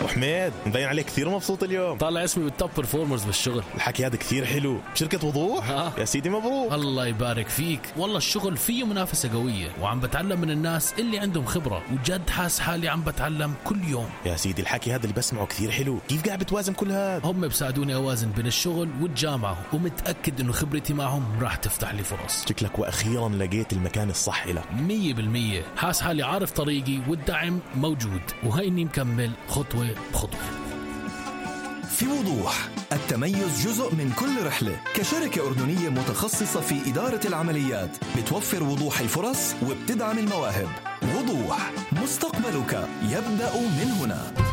Speaker 11: وحميد مبين عليك كثير مبسوط اليوم، طالع اسمي بالتوب برفورمرز بالشغل. الحكي هذا كثير حلو بشركة وضوح. ها. يا سيدي مبروك.
Speaker 12: الله يبارك فيك. والله الشغل فيه منافسة قوية، وعم بتعلم من الناس اللي عندهم خبرة، وجد حاس حالي عم بتعلم كل يوم.
Speaker 11: يا سيدي الحكي هذا اللي بسمعه كثير حلو. كيف قاعد بتوازن كل هذا؟
Speaker 12: هم بساعدوني أوازن بين الشغل والجامعة، ومتأكد إنه خبرتي معهم راح تفتح لي فرص.
Speaker 11: شكلك وأخيرا لقيت المكان الصح لك.
Speaker 12: مية بالمية. حاس حالي عارف طريقي والدعم موجود، وهيني مكمل خطوة بخطوة.
Speaker 13: في وضوح، التميز جزء من كل رحلة. كشركة أردنية متخصصة في إدارة العمليات، بتوفر وضوح الفرص وبتدعم المواهب. وضوح، مستقبلك يبدأ من هنا.